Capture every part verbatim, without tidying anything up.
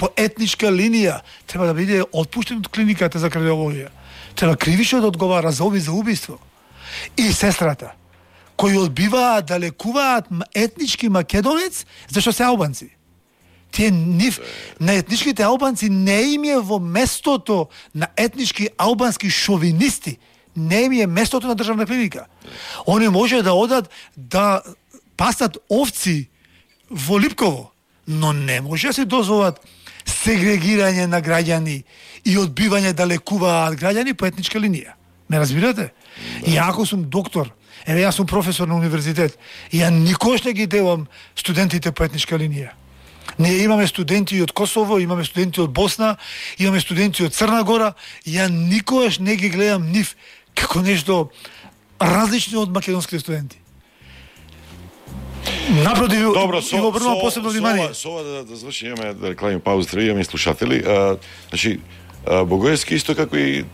по етничка линија треба да биде отпуштен од клиниката за кардиологија. Треба кривично да одговара за оби за убиство. И сестрата, кои одбиваат да лекуваат етнички македонец, зашто се албанци. Тие нив, на етничките албанци не им е во местото на етнички албански шовинисти. Не им е местото на државна клиника. Они може да одат да пасат овци во Липково, но не може да се дозволат сегрегирање на граѓани и одбивање да лекуваат граѓани по етничка линија. Ме разбирате? Да. И ако сум доктор, еве јас сум професор на универзитет, ја никош не ги делам студентите по етничка линија. Ние имаме студенти од Косово, имаме студенти од Босна, имаме студенти од Црна Гора, ја никош не ги гледам нив како нешто различно од македонските студенти. Напротив, добро, со, им обрнувам посебно внимание. Со ова да, да заврши, имаме да рекламим пауза, имаме слушатели. А, значи, а, Богоевски исто како и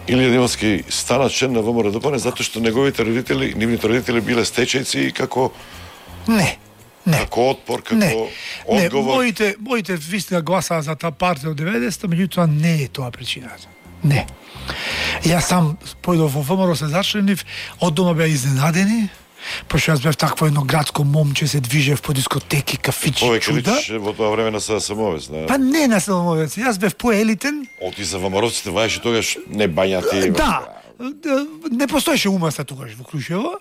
Илија Димовски стана член на ВМРО-ДПМНЕ затоа што неговите родители, нивните родители биле стечајци како Не. Не. Како отпор, како не. одговор. Не, моите, моите вистина гласаа за таа партија од деветдесетта, меѓутоа не е тоа причината. Не. Јас сам појдов во ВМРО, се зачленив, од дома беа изненадени, пошто јас бев такво едно градско момче, се движев по дискотеки, кафичи, Повеќе чуда. личиш во тоа време на СДСМовец, не? Па не на СДСМовец, јас бев поелитен. Оти за ВМРО-ците ваеше тогаш не бањати. Да. Не постоеше умаста тогаш во Крушево.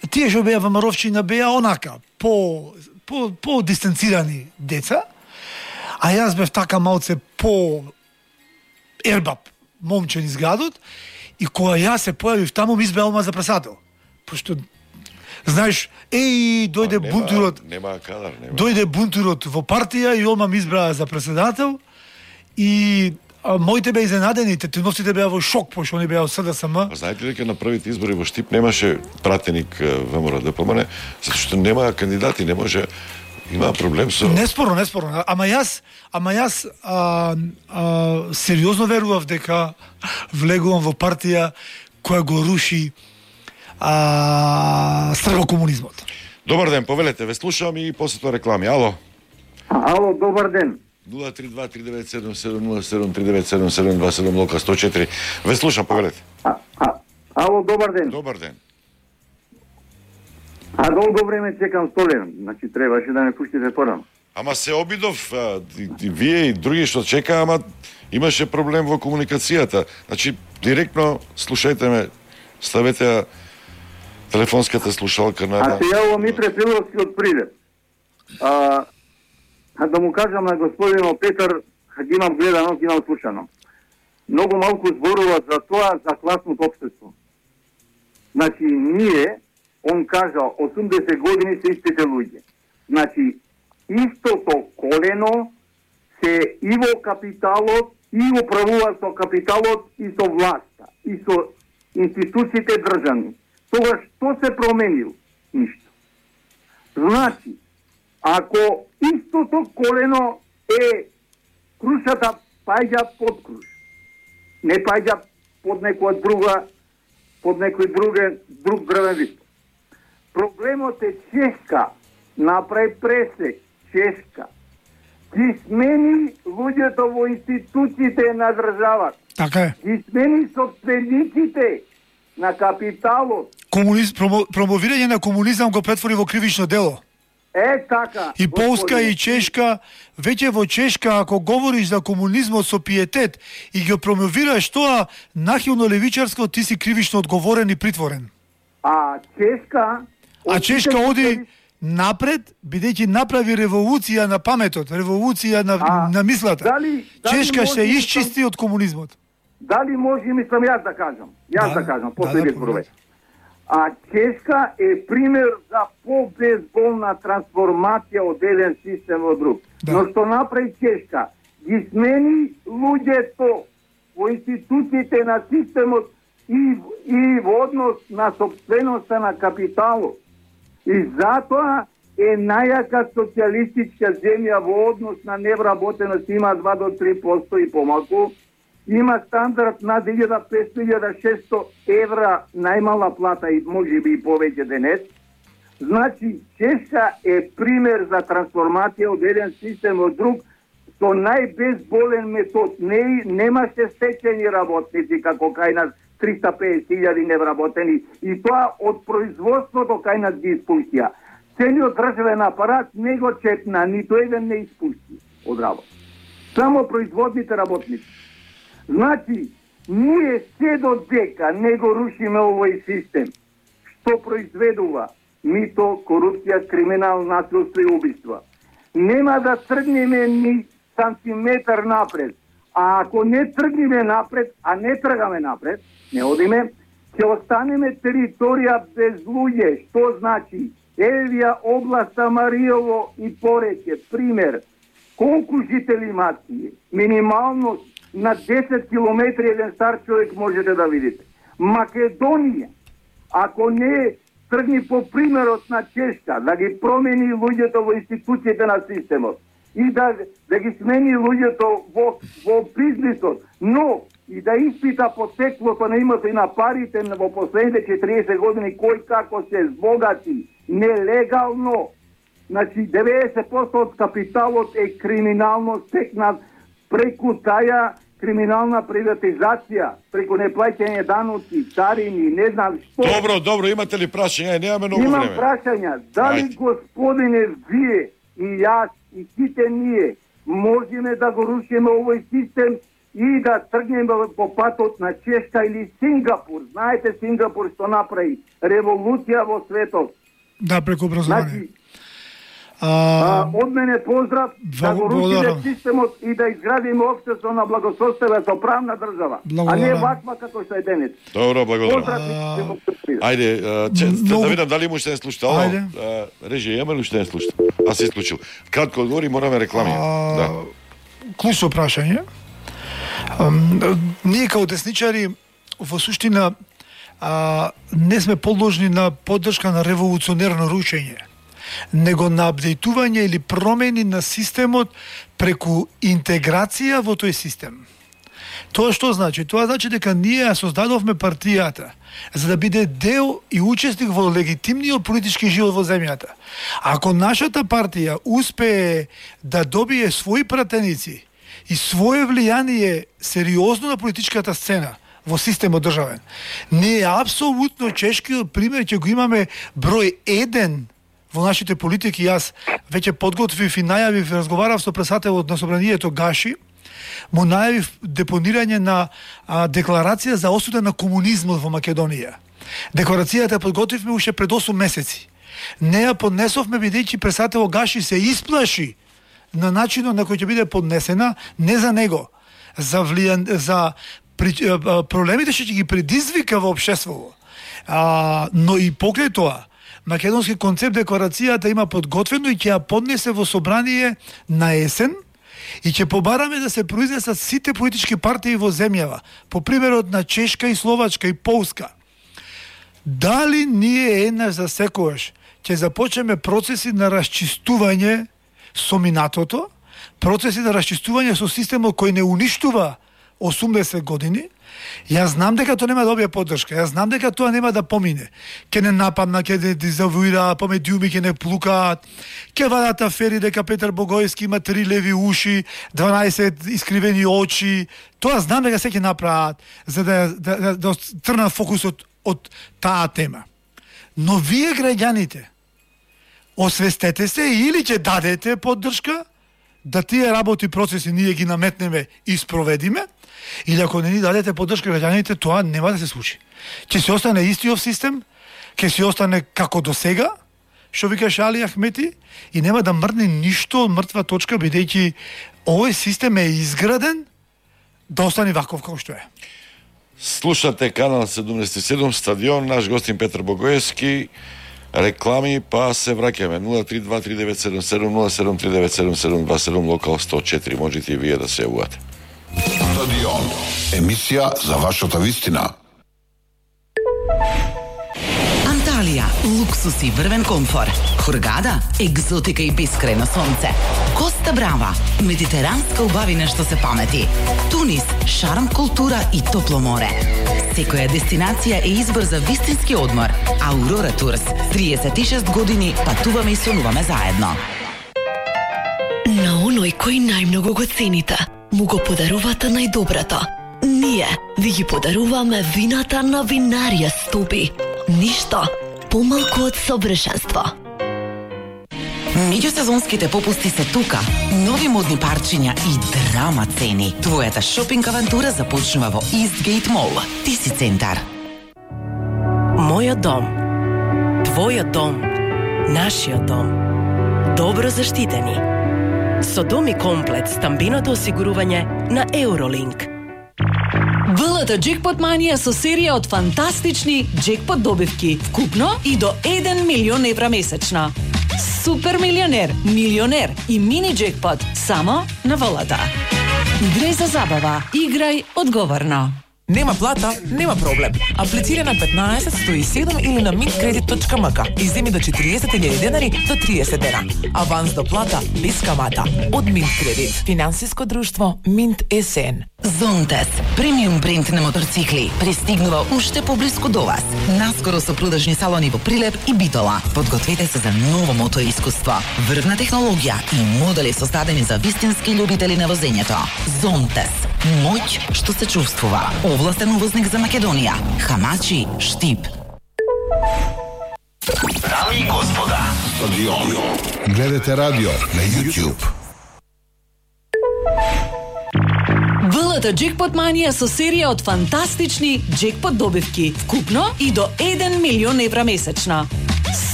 Тие што беа ВМРО-вчина беа онака, по по по дистанцирани деца. А јас бев така малце по ербап, момче низ градот, и кога јас се појавив таму ми избеа одма за председател. Пошто знаеш, еј, дојде нема, бунтурот. Нема кадар, нема. Дојде бунтурот во партија и одма ми избраа за председател и а, моите беа изненадени, тетиновците беа во шок, пошто они беа од СДСМ. А знаете ли дека на првите избори во Штип немаше пратеник ВМРО-ДПМНЕ, затоа што нема кандидати, не може, има проблем со... Неспорно, неспорно. Ама јас, ама јас а, а, сериозно верував дека влегувам во партија која го руши а, стргокомунизмот. Добар ден, повелете, ве слушам и после тоа реклами. Ало. Ало, добар ден. нула три два три девет седум седум нула седум три девет седум седум два седум лока сто четири. Ве слушам, повелете. А, а, ало, добар ден. Добар ден. А долго време чекам столен, значи требаше да ме пуштите порано. Ама се обидов, а, и, и вие и други што чека, ама имаше проблем во комуникацијата. Значи, директно слушајте ме, ставете ја телефонската слушалка на... А се јаво Митре Филовски од Прилеп. А, а да му кажам на господинот Петар, ги имам гледано, ги имам слушано. Многу малку зборува за тоа, за класното општество. Значи, ние, он кажа, осумдесет години се истите луѓе. Значи, истото колено се и во капиталот, и управува со капиталот, и со власта, и со институциите државни. Тогаш, што се променил? Ништо. Значи, ако истото колено е крушата паѓа под круш, не паѓа под некоја друга, под некој друге, друг дрвен вид. Проблемот е Чешка, направи пресек, Чешка, ги смени луѓето во институциите на државата. Така е. Ги смени собствениците на капиталот. Комуниз, промо, промовирање на комунизам го претвори во кривично дело. Е, така. И Полска и Чешка, веќе во Чешка, ако говориш за комунизмот со пиетет и ги промовираш тоа нахилно левичарско, ти си кривично одговорен и притворен. А Чешка... А Чешка оди напред, бидејќи направи револуција на паметот, револуција на, а, на мислата. Дали, дали Чешка се може, исчисти од комунизмот. Дали може, мислам јас да кажам. Јас да, да кажам, после да, да, А Чешка е пример за по-безболна трансформација од еден систем во друг. Да. Но што направи Чешка? Ги смени луѓето во институциите на системот и, и во однос на собственоста на капиталот. И затоа е најака социјалистичка земја во однос на невработеност, има два до три проценти и помалку. Има стандард над илјада петстотини до илјада и шестоста евра најмала плата и може би и повеќе денес. Значи, Чешка е пример за трансформација од еден систем од друг со најбезболен метод. Не, немаше стечени работници, како кај нас триста песет илјади невработени, и тоа од производството кај нас ги испуштија. Целиот државен апарат не го чепна, нито еден не испушти од работа. Само производните работници. Значи, ние се додека не го рушиме овој систем, што произведува мито, корупција, криминал, насилство и убиства, нема да тргнеме ни сантиметар напред. А ако не тргнеме напред, а не тргаме напред, не одиме, ќе останеме територија без луѓе. Што значи? Евија областа Мариово и Пореќе, пример, колку жители имаат? Минимално на десет километри еден стар човек можете да видите. Македонија, ако не тргни по примерот на Чешка, да ги промени луѓето во институциите на системот и да, да ги смени луѓето во, во бизнисот, но и да испита потеклото на името и на парите во последните четириесет години, кој како се збогати нелегално. Значи, деветдесет проценти од капиталот е криминално стекнат преку таа криминална приватизација, преку неплаќање даноци, царини, не знам што. Добро, добро, имате ли прашања? Немаме многу Имам време. Имам прашања. Дали, Ајде. Господине, вие и јас и сите ние можеме да го рушиме овој систем и да тргнеме по патот на Чешка или Сингапур? Знаете Сингапур што направи? Револуција во светот. Да, преку образование. Значи, А, од мене поздрав, да го рушиме системот и да изградиме општество на благосостојба со правна држава, а не ваква како што е денес. Добро, благодарам. Поздрав. Ајде, да видам дали му уште не слушате. Ајде. Режи, имаме ли уште не слушате? Аз се исклучил. Кратко одговори, мораме реклами. Да. Клучно прашање. Ние као десничари во суштина а, не сме подложни на поддршка на револуционерно рушење, него на апдейтување или промени на системот преку интеграција во тој систем. Тоа што значи? Тоа значи дека ние ја создадовме партијата за да биде дел и учесник во легитимниот политички живот во земјата. Ако нашата партија успее да добие своји пратеници и свое влијание сериозно на политичката сцена во системот државен, ние апсолутно чешкиот пример ќе го имаме број еден во нашите политики. Јас веќе подготвив и најавив, разговарав со председателот на собранието Гаши, му најавив депонирање на а, декларација за осуда на комунизмот во Македонија. Декларацијата подготвивме уште пред осум месеци. Не ја поднесовме бидејќи председател Гаши се исплаши на начинот на кој ќе биде поднесена, не за него, за влијан, за при, а, проблемите што ќе ги предизвика во општеството. А, но и покрај тоа, македонски концепт декларацијата има подготвено и ќе ја поднесе во собрание на есен и ќе побараме да се произнесат сите политички партии во земјава, по примерот на Чешка и Словачка и Полска. Дали ние еднаш за секојаш ќе започнеме процеси на расчистување со минатото, процеси на расчистување со системот кој не уништува осумдесет години? Јас знам дека тоа нема да добие поддршка, јас знам дека тоа нема да помине. Ке не нападна, ке не дизавуира, по медиуми ке не плукаат, ке вадат афери дека Петар Богојски има три леви уши, дванаесет искривени очи. Тоа знам дека се ќе направат за да да, да, да трна фокусот од таа тема. Но вие граѓаните освестете се или ќе дадете поддршка да тие работи процеси ние ги наметнеме и спроведиме, или ако не ни дадете поддршка граѓаните, тоа нема да се случи. Ќе се остане истиот систем, ќе се остане како до сега, што викаше Али Ахмети, и нема да мрдне ништо од мртва точка, бидејќи овој систем е изграден да остане ваков како што е. Слушате канал седумдесет и седум, стадион, наш гостин Петар Богојевски. Реклами, па се враќаме. нула три два три девет седум седум нула седум три девет седум седум два седум, локал сто и четири. Можете и вие да се јавувате. Стадион. Емисија за вашата вистина. Анталија, луксус и врвен комфор. Хургада, екзотика и бескрајно сонце. Коста Брава, медитеранска убавина што се памети. Тунис, шарм, култура и топло море. Секоја дестинација е избор за вистински одмор. Аурора Турс, триесет и шест години патуваме и сонуваме заедно. На оној кој најмногу го цените, му го подарувате најдоброто. Ние ви ги подаруваме вината на Винарија Стопи. Ништо помалку од совршенство. Меѓусезонските попусти се тука. Нови модни парчиња и драма цени. Твојата шопинг авантура започнува во Eastgate Mall. Ти си центар. Мојот дом. Твојот дом. Нашиот дом. Добро заштитени. Со дом и комплет стамбиното осигурување на Eurolink. ВЛТ Джекпот Манија со серија од фантастични джекпот добивки, вкупно и до еден милион евра месечно. Супер милионер, милионер и мини джекпот само на ВЛТ. Играј за забава, играј одговорно. Нема плата, нема проблем. Аплицирај на петнаесет сто и седум или на mintkredit точка м к и земи до четириесет илјади денари до триесет дена. Аванс до плата без камата од Mintkredit. Финансиско друштво Mint ес ен. Зонтес, премиум бренд на моторцикли, пристигнува уште поблиску до вас. Наскоро со продажни салони во Прилеп и Битола. Подгответе се за ново мотор искуство, врвна технологија и модели создадени за вистински љубители на возењето. Зонтес, моќ што се чувствува. Овластен увозник за Македонија. Хамачи, Штип. Дами и господа, стадион. Гледате радио на YouTube. ВЛТ Джекпот Манија со серија од фантастични джекпот добивки, вкупно и до еден милион евра месечно.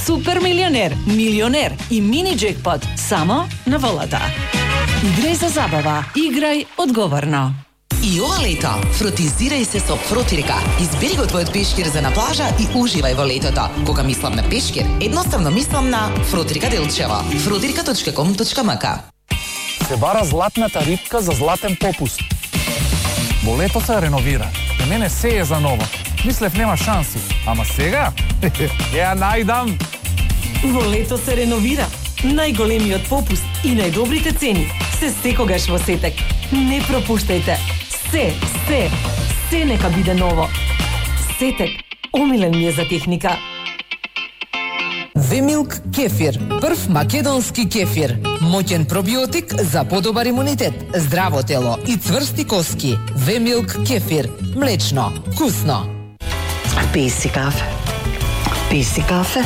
Супер милионер, милионер и мини джекпот само на ВЛТ. Играј за забава, играј одговорно. И ова лето, фротизирај се со Фротирка. Избери го твојот пешкир за на плажа и уживај во летото. Кога мислам на пешкир, едноставно мислам на Фротирка Делчево. фротирка точка ком точка м к. Се бара златната рибка за златен попуст. Во лето се реновира. За мене се е за ново. Мислев нема шанси, ама сега ја најдам. Во лето се реновира. Најголемиот попуст и најдобрите цени се секогаш во Сетек. Не пропуштајте. Се, се, се нека биде ново. Сетек, омилен ми е за техника. Вемилк кефир, прв македонски кефир. Моќен пробиотик за подобар имунитет, здраво тело и цврсти коски. Вемилк кефир, млечно, вкусно. Пи си кафе. Пи си кафе.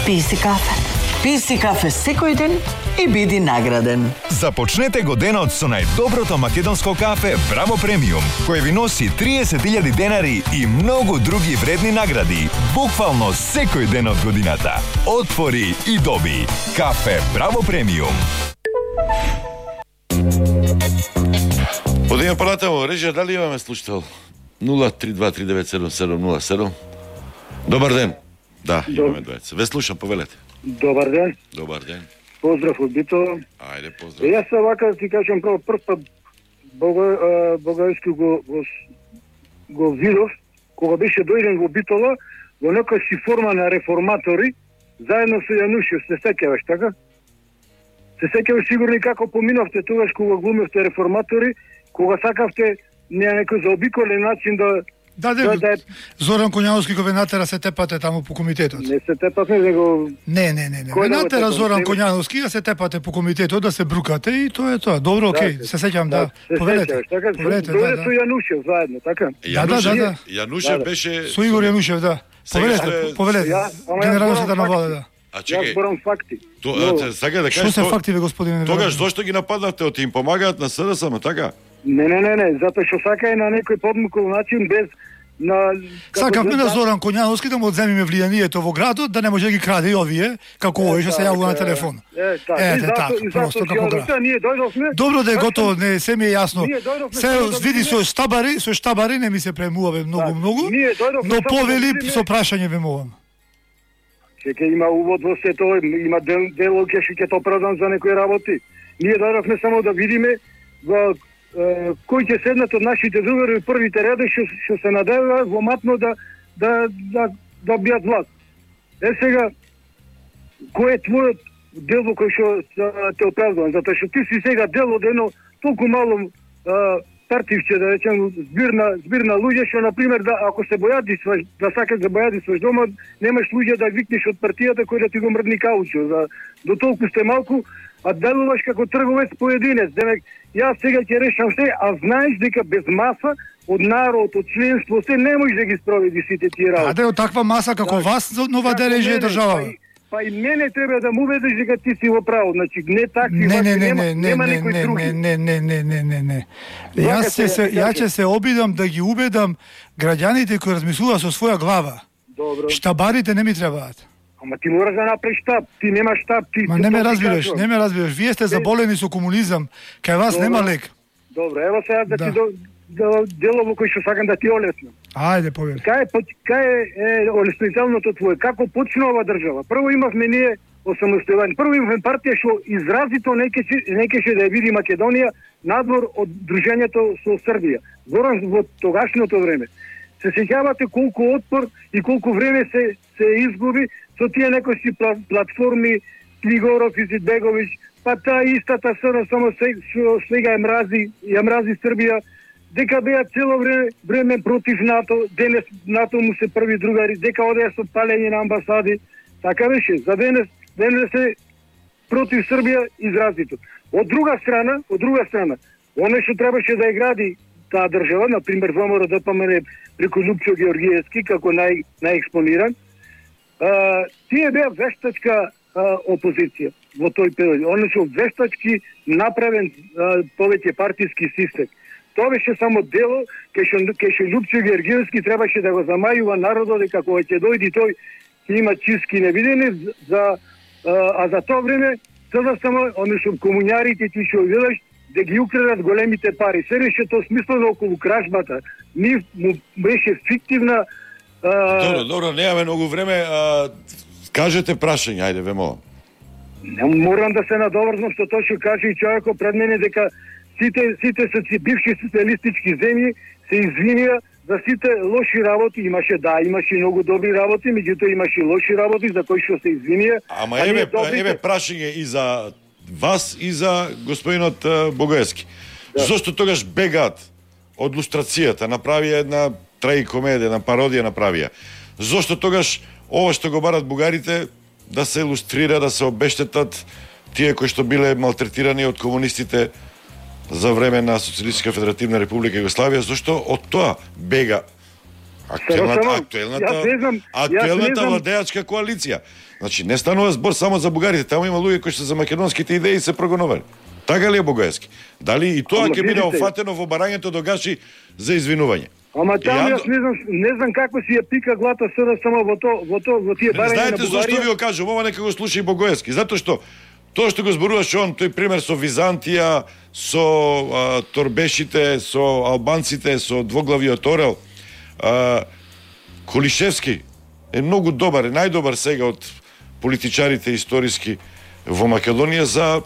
Пи си кафе. Пи си кафе секој ден и биди награден. Започнете го денот со најдоброто македонско кафе Браво Премиум, кој ви носи триесет илјади денари и многу други вредни награди, буквално секој ден од годината. Отвори и доби. Кафе Браво Премиум. Одиме понатаму, режија, дали имаме слушател? нула три два три девет седум седум нула седум. Добар ден. Да, имаме двајца. Ве слушам, повелете. Добар ден. Добар ден. Поздрав од Битола. Ајде, поздрав. Јас се вака да ти кажам прво прв пат Богајски го, го, го видов, кога беше дојден во Битола, во некоја си форма на реформатори, заедно со Јанушев, се сеќаваш, така? Се сеќаваш сигурно како поминовте тогаш кога глумевте реформатори, кога сакавте на некој заобиколен начин да Да, да, да, Зоран Коњановски го венатера се тепате таму по комитетот. Не се тепате, него... Не, не, не, не. Венатера Зоран Коњановски да се тепате по комитетот, да се брукате и тоа е тоа. Добро, окей, се сеќавам, да. Повелете. Повелете, да, да. Со Јанушев заедно, така? Да, да, да. Јанушев беше... Со Игор Јанушев, да. Повелете, повелете. Генерално се да наводе, да. А чекај. Јас борам факти. То, сака да кажеш... Што се факти, бе, господине? Тогаш зошто ги нападнавте, од им помагаат на СДСМ, така? Не, не, не, не, затоа што сака е на некој подмукол начин без на сакавме на Зоран Коњановски да му одземиме влијанието во градот, да не може да ги краде и овие, како овој што се јавува на телефон. Е, така, Ете, така, просто како град. Добро да е готово, не се ми е јасно. Се види со штабари, со штабари не ми се премуваме многу многу, но повели со прашање ве молам. Ќе има увод во сето, има дел ќе ќе тоа оправдан за некои работи. Ние дојдовме само да видиме во кој ќе седнат од нашите другари првите реди што што се надеваат во матно да да да да бијат власт. Е сега кој е твојот дел во кој што те оправдувам, затоа што ти си сега дел од едно толку мало партивче, да речем, збирна збирна луѓе што на пример да ако се бојадисваш, да сакаш да бојадисваш дома, немаш луѓе да викнеш од партијата кој да ти го мрдни каучо. За до толку сте малку, а делуваш како трговец поединец. Демек, јас сега ќе решам се, а знаеш дека без маса од народ, од членство, се не можеш да ги спроведи сите тие работи. А да е од таква маса како вас нова дележе е држава. Па и мене треба да му убедиш дека ти си во право. Значи не такви не, не, не, нема, не, не, нема не, никој не, други. не, не, не, не, не, не. Јас ќе се ја ќе се обидам да ги убедам граѓаните кои размислуваат со своја глава. Добро. Штабарите не ми требаат. Ама ти мораш да направиш штаб. Ти немаш штаб, ти. Ма не ме разбираш, не ме разбираш. Вие сте заболени со комунизам. Кај вас Добро. нема лек. Добро, ево сега да, Да. ти до, да делово кој што сакам да ти олеснам. Ајде, повели. Кај е поч- кај е, е олеснителното твое? Како почна ова држава? Прво имавме ние осамостојување. Прво имавме партија што изразито не кеше не кеше да ја види Македонија надвор од дружењето со Србија. Зборам во тогашното време. Се сеќавате колку отпор и колку време се се изгуби со тие некои пла- платформи Клигоров и Зидбеговиќ, па таа истата СР само се, што сега ја мрази, ја мрази Србија, дека беа цело време, време против НАТО, денес НАТО му се први другари, дека одеа со палење на амбасади, така беше. За денес, денес е против Србија изразито. Од друга страна, од друга страна, оно што требаше да ја гради таа држава, на пример ВМРО Д П М Н преку Лупчо Георгиевски како нај најекспониран, а, тие беа вештачка а, опозиција во тој период. Оно што вештачки направен а, повеќе партиски систем. Тоа беше само дело кај што кај што Лупчо Георгиевски требаше да го замајува народот дека кога ќе дојди тој ќе има чистки невидени за а, а за тоа време тоа само оно што комуњарите ти што видиш да ги украдат големите пари. Се реше тоа смислено околу кражбата. Ни му беше фиктивна. А... Добро, добро, немаме многу време. А, кажете прашање, ајде, вемо. Не морам да се надоврзам што тоа што каже и човекот пред мене дека сите сите соци бивши социјалистички земји се извинија за сите лоши работи. Имаше, да, имаше многу добри работи, меѓутоа имаше лоши работи за кои што се извинија. Ама еве, еве прашање и за вас и за господинот uh, Богоевски. Да. Зошто тогаш бегаат од лустрацијата, направија една траикомедија, една пародија направија. Зошто тогаш ова што го барат бугарите да се илустрира, да се обештетат тие кои што биле малтретирани од комунистите за време на Социјалистичка Федеративна Република Југославија, зашто од тоа бега актуелната актуелната актуелната владеачка коалиција. Значи не станува збор само за бугарите, таму има луѓе кои што за македонските идеи се прогонували. Така ли е Богоевски? Дали и тоа ќе биде офатено во барањето до Гаши за извинување? Ама таму јас не знам, не знам како си ја пика глата СР само во то во то во тие барања на Бугарија. Знаете зошто ви го кажувам, ова нека го слуша и Богоевски, затоа што тоа што го зборуваше он, тој пример со Византија, со а, торбешите, со албанците, со двоглавиот орел, а, Колишевски е многу добар, е најдобар сега од политичарите историски во Македонија за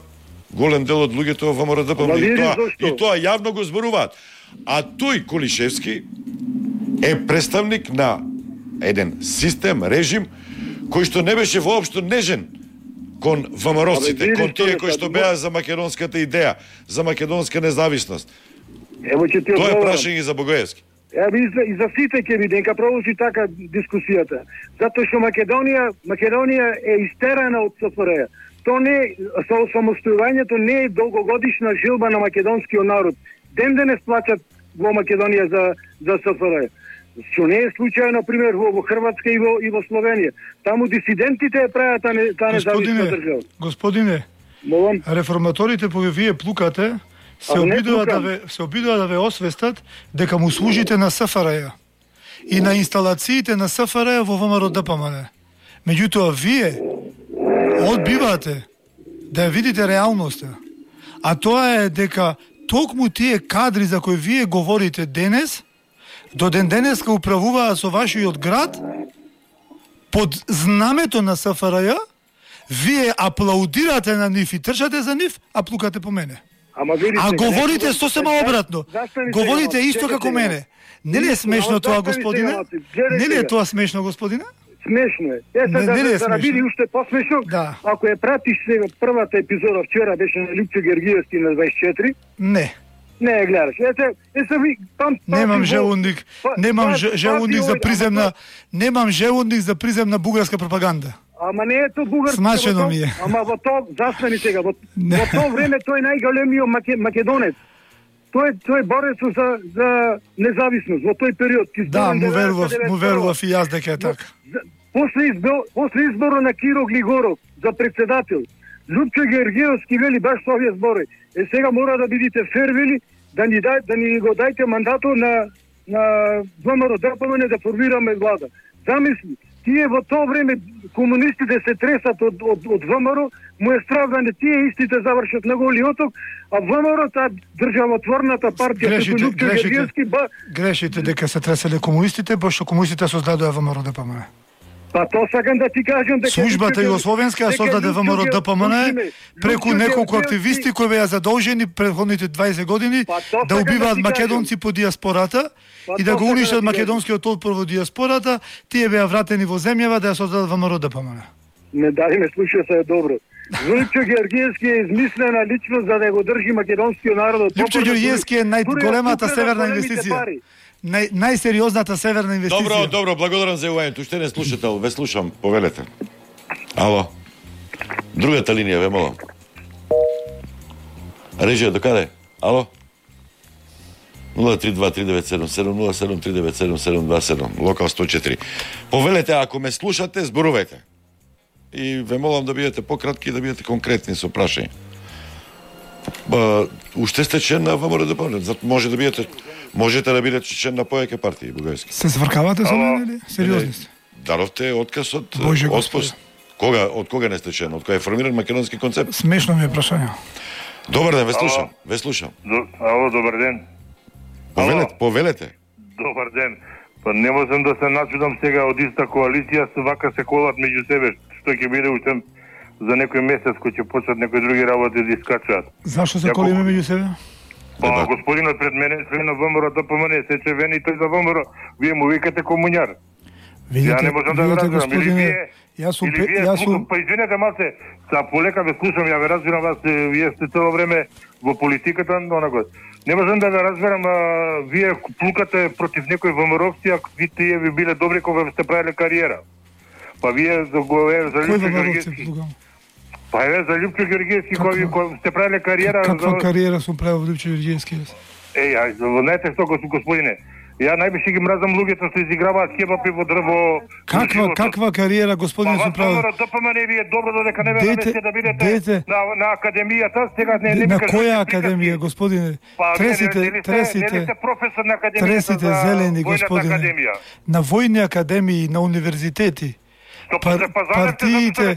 голем дел од луѓето во ВМРО Д П М Н. И тоа, и тоа јавно го зборуваат. А тој Колишевски е представник на еден систем, режим, кој што не беше воопшто нежен кон ВМРО-ците, кон тие кои што беа за македонската идеја, за македонска независност. Ево ќе ти тоа е прашање за Богоевски. Ево и за, и за сите ќе биде, нека продолжи така дискусијата. Затоа што Македонија, Македонија е истерана од С Ф Р Ј. То не со самостојувањето не е долгогодишна жилба на македонскиот народ. Ден денес плачат во Македонија за за С Ф Р Ј. Што не е случај, на пример, во, во Хрватска и во, и во Словенија. Таму дисидентите ја прават таа не, та независна држава. Господине, Молам. Реформаторите кои вие плукате, се обидува да ве се обидува да ве освестат дека му служите на С Ф Р Ј и на инсталациите на С Ф Р Ј во В М Р Д П М Н. Меѓутоа вие одбивате да ја видите реалноста. А тоа е дека токму тие кадри за кои вие говорите денес, до ден денеска управуваат со вашиот град под знамето на С Ф Р Ј, вие аплаудирате на нив и трчате за нив, а плукате по мене. Ама видите, а говорите сосема обратно. Говорите исто како мене. Не ли е смешно тоа, господине? Не ли е тоа смешно, господине? Смешно е. Е, сега да, да, да биде уште посмешно, да. Ако ја пратиш сега првата епизода вчера беше на Лупчо Георгиевски на дваесет и четири. Не. Не ја гледаш. Ете, е се ви пам Немам желудник, немам желудник за приземна, немам желудник за приземна бугарска пропаганда. ама не е то бугарски. Смачено ми е. Ама во тоа застани сега, во, во тоа време тој најголемиот маке, македонец. Тој тој борец за за независност во тој период. Да, му верував, му верував и јас дека е така. После избор, после изборот на Киро Глигоров за председател, Лјупчо Георгиевски вели баш со овие збори. Е сега мора да бидите фер, вели, да ни дај, да ни го дајте мандатот на на ВМРО ДПМН да формираме влада. Замисли, тие во тоа време комунистите се тресат од од од ВМРО, му е страх да не тие истите завршат на Голи оток, а ВМРО таа државотворната партија Грешите, Лјупчо Георгиевски ба грешите дека се треселе комунистите, пошто комунистите создадоа ВМРО ДПМН. Па тоа сакам да ти кажам дека Службата југословенска ја создаде ВМРО ДПМН преку неколку активисти кои беа задолжени претходните дваесет години да убиваат македонци по диаспората и да го уништат македонскиот отпор во диаспората, тие беа вратени во земјава да ја создадат ВМРО ДПМН. Не дај ме слуша се добро. Лјупчо Георгиевски е измислена личност за да го држи македонскиот народ. Лјупчо Георгиевски е најголемата северна инвестиција. Нај, најсериозната северна инвестиција. Добро, добро, благодарам за јавувањето. Уште не слушател, ве слушам, повелете. Ало. Другата линија, ве молам. Режија, докаде? Ало? нула три два три девет седум седум нула седум три девет седум седум два седум, локал сто четири. Повелете, ако ме слушате, зборувајте. И ве молам да бидете пократки и да бидете конкретни со прашање. Ба, уште сте член на ВМРО ДПМН, може да бидете можете да бидете член на повеќе партии бугарски. Се звркавате со мене или сериозни сте? Дадовте отказ од Боже оспост. Кога од кога не сте член? Од кога е формиран македонски концепт? Смешно ми е прашање. Добар ден, ве слушам. Ве слушам. Ало, добар ден. Повелете, повелете. Добар ден. Па не можам да се начудам сега од иста коалиција, вака се колат меѓу себе, што ќе биде уште за некој месец кој ќе почнат некои други работи да искачаат. Зашо се колиме меѓу себе? Па господинот пред мене член на ВМРО ДПМН се чевени тој за ВМРО. Вие му викате комуњар. Видите, ја не можам да видите, разберам. Или господине, вие, јас сум, или вие, јас сум... па извинете малце, са полека ве слушам, ја ве разбирам вас, вие сте цело време во политиката, но на год. Не можам да ве разберам, а, вие плукате против некои ВМРО-вци, а ви тие ви биле добри кога сте правиле кариера. Па вие за го е за Лјупчо Георгиевски. Па е за Лјупчо Георгиевски кој кој сте правиле кариера. Каква за... кариера сум правил Лјупчо Георгиевски? Еј, ај, знаете што, господине, ја најбише ги мразам луѓето што изиграваат кебапи во дрво. Каква каква кариера, господине, сум правил? Па ДПМН ви е добро додека не ве Дете, наместите да бидете дете. на на академијата, сега не не На ми кажете која приказки. академија, господине? Па, Тресите, не, не, не, тресите. Не сте професор на академијата Тресите за зелени, војната господине. академија. На војни академии, на универзитети. Пар, партиите,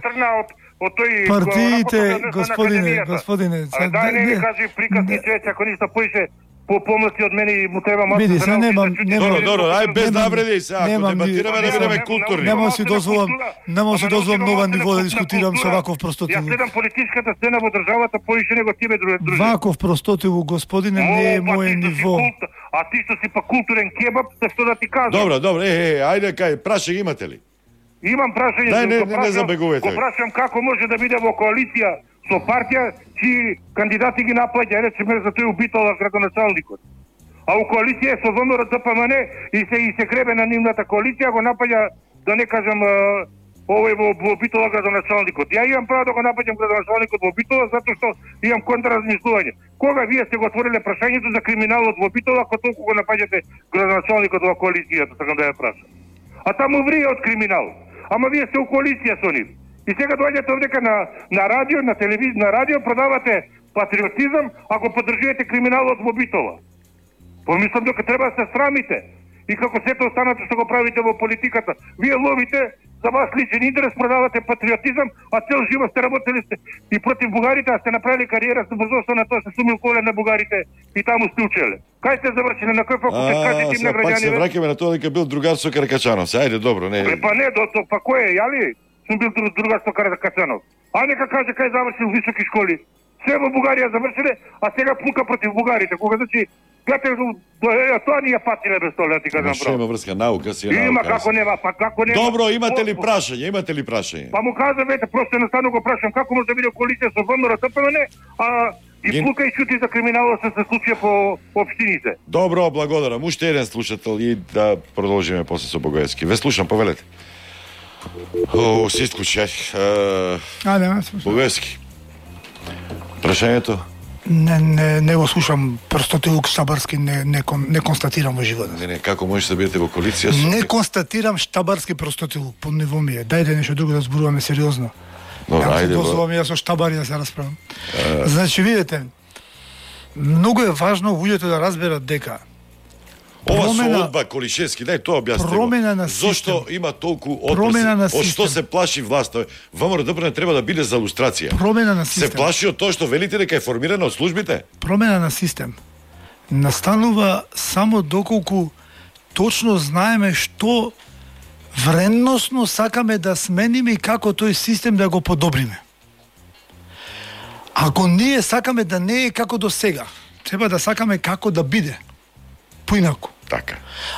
од тој партиите, господине, господине. А дај не ми кажи приказни човече, ако ништо поише по помоци од мене и му треба малку Види, да се научи немам, да чути. немам. Добро, добро, ај без немам- навреди се, ако немам ни- дебатираме да бидеме културни. Нема си дозволам, нема си дозволам нова ниво да дискутирам со ваков Ја простотилук. следам политичката сцена во државата поише него тебе друже. Ваков простотилук, господине, не е О, па моје ти што си ниво. култ- А ти што си па културен кебаб, се што да ти кажам. Добро, добро, е, е, ајде кај, прашање имате ли? Имам прашање, Дај, не- го не- не прашам- забегувајте. Го прашам како може да биде во коалиција со партија чии кандидати ги наплаќа, речеме за тој убител на градоначалникот. А у коалиција со ВМРО ДПМН и се и се гребе на нивната коалиција го напаѓа, да не кажам, а, овој во, во Битола градоначалникот. Ја имам право да го напаѓам градоначалникот во Битола затоа што имам контраразмислување. Кога вие сте го отвориле прашањето за криминалот во Битола, ако толку го напаѓате градоначалникот во коалицијата, сакам да ја прашам. А таму врие од криминал. Ама вие сте у коалиција со нив. И сега доаѓате овдека на на радио, на телевизија, на радио продавате патриотизам, ако поддржувате криминалот во Битола. Помислам дека треба да се срамите. И како сето останато што го правите во политиката. Вие ловите за вас личен интерес, продавате патриотизам, а цел живот сте работели сте и против бугарите, а сте направили кариера со брзоста на тоа се сумил коле на бугарите и таму сте учеле. Кај сте завршили, на кој факултет, кажете им на А, пак се граѓани? враќаме на тоа дека бил другар со Каракачанов. Се, ајде, добро, не. Е, па не, до, до, па кој е, ја ли? Сум бил друг, другар со Каракачанов. А нека каже кај завршил високи школи. Се во Бугарија завршиле, а сега плука против бугарите. Кога значи, гледате, тоа ни ја патиле без тоа, да ти кажам Што има право. врска, наука си е Има наука. како нема, па како нема. Добро, имате ли По- прашање? Имате ли прашање? Па му кажа, вете, просто едноставно го прашам како може да биде коалиција со ВМРО ДПМН, а и Ги- плука и шути за криминалот се се случија по општините. Добро, благодарам. Уште еден слушател и да продолжиме после со Богоевски. Ве слушам, повелете. О, се исклучи, ај. А, не, не, Богоевски. Прашањето? Не, не, не го слушам прстотилук штабарски, не, не, не констатирам во животот. Не, не, како можеш да бидете во коалиција со... Не констатирам штабарски простотилук, по ниво ми е. Дајде нешто друго да зборуваме сериозно. Добро, ајде. Дозволам ја со штабари да се расправам. А... Значи, видите, многу е важно луѓето да разберат дека Ова промена... со Одба Колишевски, дај тоа објасни. Промена на систем. Зошто има толку Промена на одпрес? Од што систем. се плаши власта? ВМРО треба да биде за лустрација. Промена на систем. Се плаши од тоа што велите дека е формирана од службите? Промена на систем настанува само доколку точно знаеме што вредносно сакаме да смениме и како тој систем да го подобриме. Ако ние сакаме да не е како до сега, треба да сакаме како да биде. Поинаку. Така.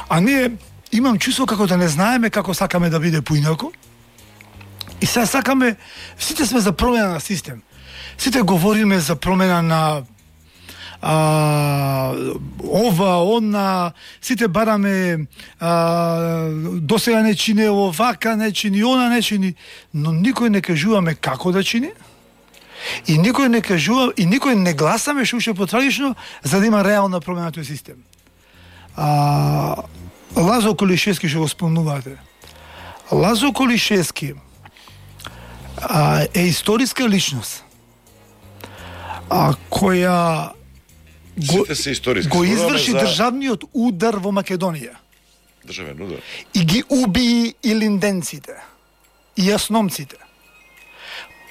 А ние имам чувство како да не знаеме како сакаме да биде поинаку. И сега сакаме, сите сме за промена на систем. Сите говориме за промена на а, ова, она, сите бараме а, досега не чини овака, не чини она, не чини, но никој не кажуваме како да чини. И никој не кажува, и никој не гласаме, што уште потрагично, за да има реална промена на тој систем. А, Лазо Колишевски што го спомнувате. Лазо Колишевски а, е историска личност а, која го, го изврши за... државниот удар во Македонија. Државен удар. И ги уби и линденците, и јасномците.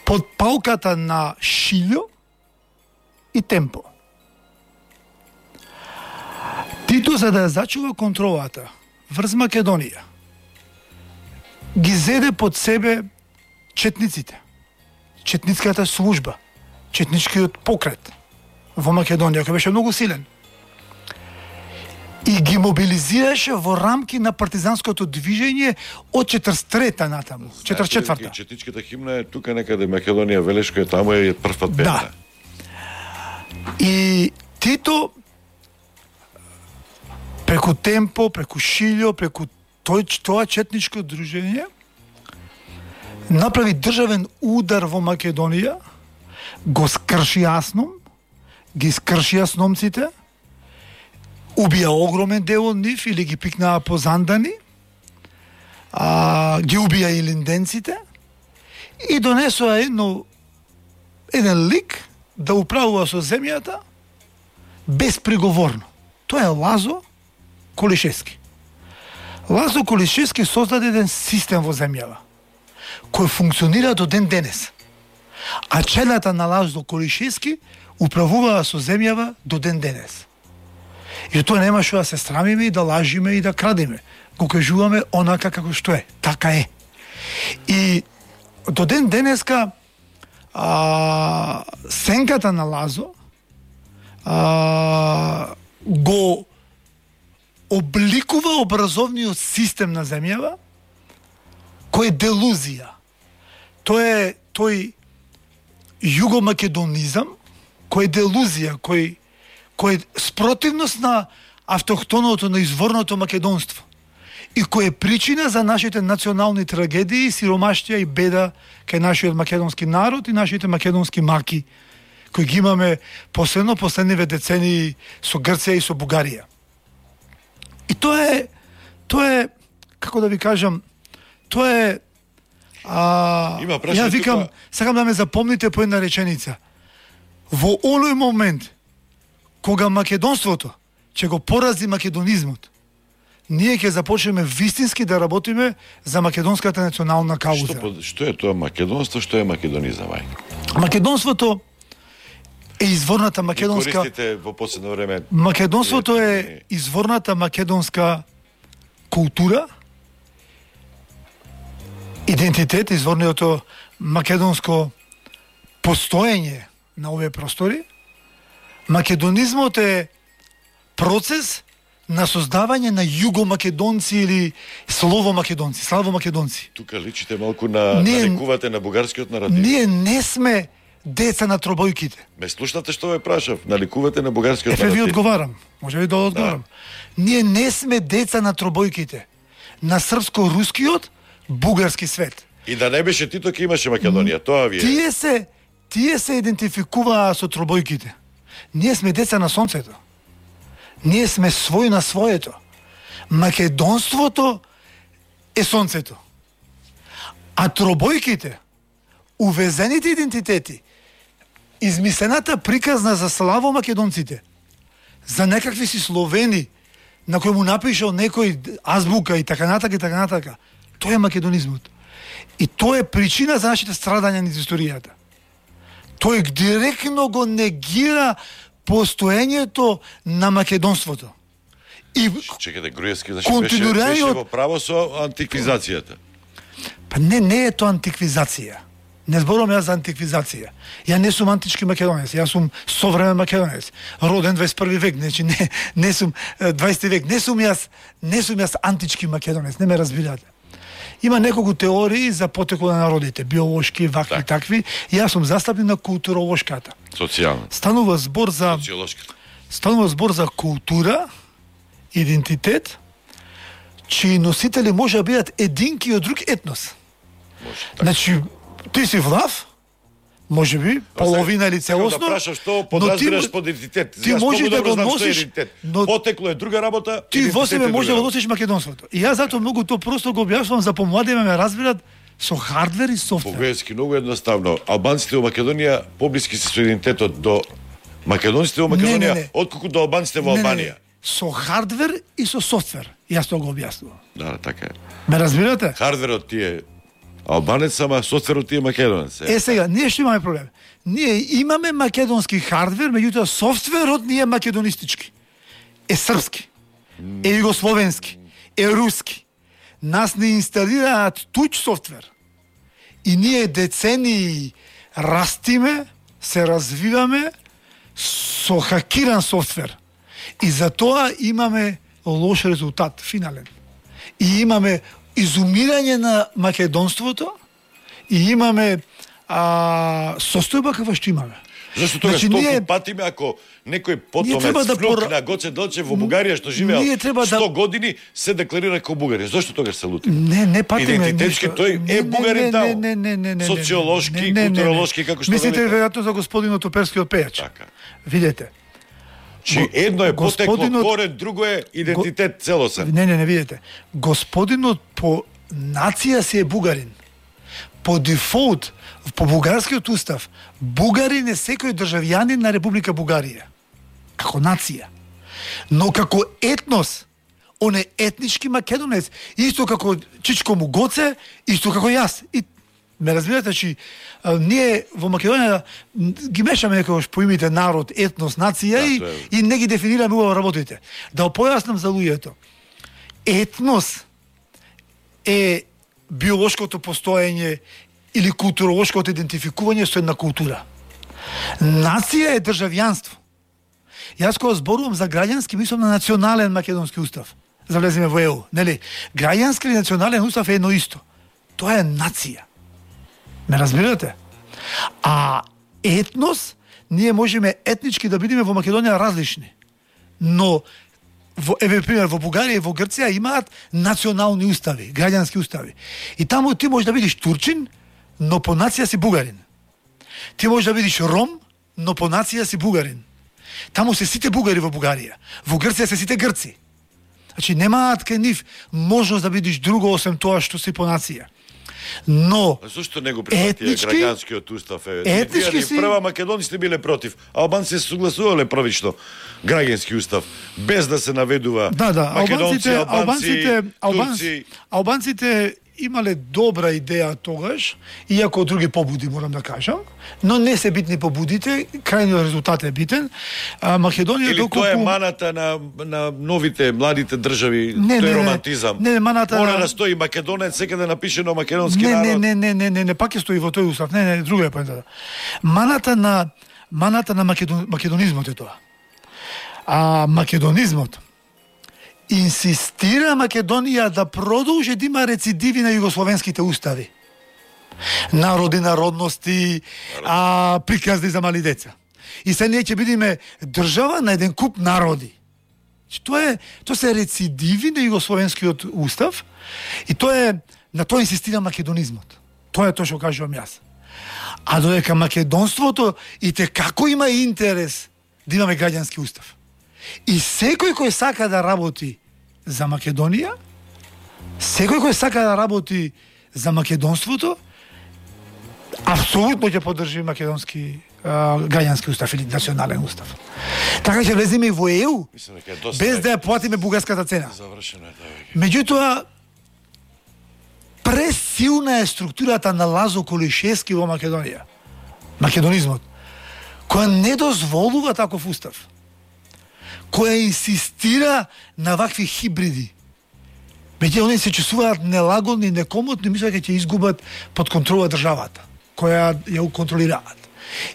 Под палката на Шилјо и Темпо. Тито, за да ја зачува контролата врз Македонија, ги зеде под себе четниците, четницката служба, четничкиот покрет во Македонија, кој беше многу силен. И ги мобилизираше во рамки на партизанското движење од четридесет и трета натаму, четридесет и четврта. Четничката химна е тука некаде Македонија, Велешко е таму е првпат пеена. Да. И Тито преку Темпо, преку Шилјо, преку тој, тоа четничко дружење направи државен удар во Македонија, го скрши Јасном, ги скрши јасномците, убија огромен дел од нив или ги пикнаа по зандани, а, ги убија и линденците и донесоа едно еден лик да управува со земјата безприговорно. Тоа е Лазо Колишевски. Лазо Колишевски создаде еден систем во земјава кој функционира до ден денес. А челата на Лазо Колишевски управуваа со земјава до ден денес. И тоа нема што да се срамиме и да лажиме и да крадеме. Го кажуваме онака како што е. Така е. И до ден денеска а, сенката на Лазо а, го обликува образовниот систем на земјава кој е делузија. Тој е тој југомакедонизам кој е делузија, кој кој е спротивност на автохтоното, на изворното македонство и кој е причина за нашите национални трагедии, сиромаштија и беда кај нашиот македонски народ и нашите македонски маки кои ги имаме последно последниве децении со Грција и со Бугарија. И тоа е тоа е како да ви кажам, тоа е а, Има ја викам, тука... сакам да ме запомните по една реченица. Во оној момент кога македонството ќе го порази македонизмот, ние ќе започнеме вистински да работиме за македонската национална кауза. Што, што е тоа македонство, што е македонизам, ај? Македонството е изворната македонска... И користите во последно време... Македонството е изворната македонска култура, идентитет, изворното македонско постоење на овие простори. Македонизмот е процес на создавање на југомакедонци или словомакедонци, славомакедонци. Тука личите малку на ние, нарекувате на бугарскиот наратив. Ние не сме деца на тробојките. Ме слушнате што ве прашав, наликувате на бугарскиот наратив. Ефе ви одговарам, може би да одговарам. Да. Ние не сме деца на тробојките, на српско-рускиот, бугарски свет. И да не беше Тито, ке имаше Македонија, тоа ви е. Тие се, тие се идентификуваа со тробојките. Ние сме деца на сонцето. Ние сме свој на своето. Македонството е сонцето. А тробојките, увезените идентитети, измислената приказна за славо македонците, за некакви си словени, на кој му напишал некој азбука и така натака и така натака, тоа е македонизмот. И тоа е причина за нашите страдања низ историјата. Тој директно го негира постоењето на македонството. И чекате, Груевски, значи беше, беше во право со антиквизацијата. Па не, не е тоа антиквизација. Не зборувам јас за антиквизација. Ја не сум антички македонец, јас сум современ македонец. Роден дваесет и први век, значи не не сум дваесети век, не сум јас, не сум јас антички македонец, не ме разбирате. Има неколку теории за потекот на народите, биолошки, вакви, так. такви. Јас сум застапник на културолошката. Социјална. Станува збор за Станува збор за култура, идентитет, чии носители може да бидат единки од друг етнос. Може, така. Значи, ти си влав, може би, половина или целосно, да прашам што подразбираш под идентитет. Ти можеш да го носиш, но потекло е друга работа. Ти во себе може да го носиш македонството. И јас затоа многу тоа просто го објаснувам за помладите ме разбират со хардвер и софтвер. Бугарски многу едноставно. Албанците во Македонија поблиски се со идентитетот до македонците во Македонија, отколку до албанците во Албанија. Не, не. Со хардвер и со софтвер. Јас тоа го објаснувам. Да, така е. Ме разбирате? Хардверот ти е албанец, ама софтверот ти е македонец. Е, сега, ние што имаме проблем? Ние имаме македонски хардвер, меѓутоа софтверот ни е македонистички. Е српски. Е југословенски. Е руски. Нас не инсталираат туѓ софтвер. И ние децени растиме, се развиваме со хакиран софтвер. И за тоа имаме лош резултат, финален. И имаме изумирање на македонството и имаме а, состојба каква што имаме. Зашто тогаш значи, толку ние... патиме ако некој потомец да внук пор... на Гоце Делчев во Бугарија што живеел сто да... години се декларира како бугарин. Зашто тогаш се лути? Не, не патиме. Идентитетски тој е бугарин таму. Не, не, не, не, социолошки, културолошки, како што мислите веројатно за господинот оперскиот пејач. Така. Видете. Чи едно е потекло корен, друго е идентитет целосен. Не, не, не видите. Господинот по нација си е бугарин. По дефолт, по бугарскиот устав, бугарин е секој државјанин на Република Бугарија. Како нација. Но како етнос, он е етнички македонец. Исто како Чичко му Гоце, исто како јас. И ме разбирате, че а, ние во Македонија ги мешаме некојаш поимите народ, етнос, нација да, и, е... и не ги дефинираме убаво работите. Да појаснам за луѓето. Етнос е биолошкото постоење или културолошкото идентификување со една култура. Нација е државјанство. Јас кога зборувам за граѓански, мислам на национален македонски устав. За влеземе во Е У, нели? Граѓански или национален устав е едно исто. Тоа е нација. Ме разбирате? А етнос, ние можеме етнички да бидеме во Македонија различни. Но во, еве пример, во Бугарија и во Грција имаат национални устави, граѓански устави. И таму ти можеш да бидеш турчин, но по нација си бугарин. Ти можеш да бидеш ром, но по нација си бугарин. Таму се сите бугари во Бугарија. Во Грција се сите грци. Значи немаат кај нив можност да бидеш друго освен тоа што си по нација. Но а зошто не го прифатија граѓанскиот устав е? Етнички си прва македонците биле против, а албанците се согласувале првично граѓански устав без да се наведува да, да, македонци, албанци, албанците, турци. Албанците имале добра идеја тогаш, иако други побуди морам да кажам, но не се битни побудите, крајниот резултат е битен. А, Македонија или доколку... тоа е маната на, на новите, младите држави, не, тој не, романтизам. Не, не, маната... Мора да стои македонец, секаде напишено македонски не, народ. Не, не, не, не, не, не, пак ќе стои во тој устав. Не, не, друга е поентата. Маната на, маната на македон, македонизмот е тоа. А македонизмот инсистира Македонија да продолжи да има рецидиви на југословенските устави. Народи, народности, а, приказни за мали деца. И се ние ќе бидеме држава на еден куп народи. Тоа е, тоа се рецидиви на југословенскиот устав и тоа е на тоа инсистира македонизмот. Тоа е тоа што кажувам јас. А додека македонството и те како има интерес да имаме граѓански устав. И секој кој сака да работи за Македонија, секој кој сака да работи за македонството, апсолутно ќе поддржи македонски а, граѓански устав или национален устав. Така ќе влеземе и во Е У, без да ја платиме бугарската цена. Завршено е тоа. Меѓутоа, пресилна е структурата на Лазо Колишевски во Македонија. Македонизмот, која не дозволува таков устав, која инсистира на вакви хибриди. Меѓутоа, они се чувствуваат нелагодни, некомотни, мислат дека ќе изгубат под контрола државата, која ја контролираат.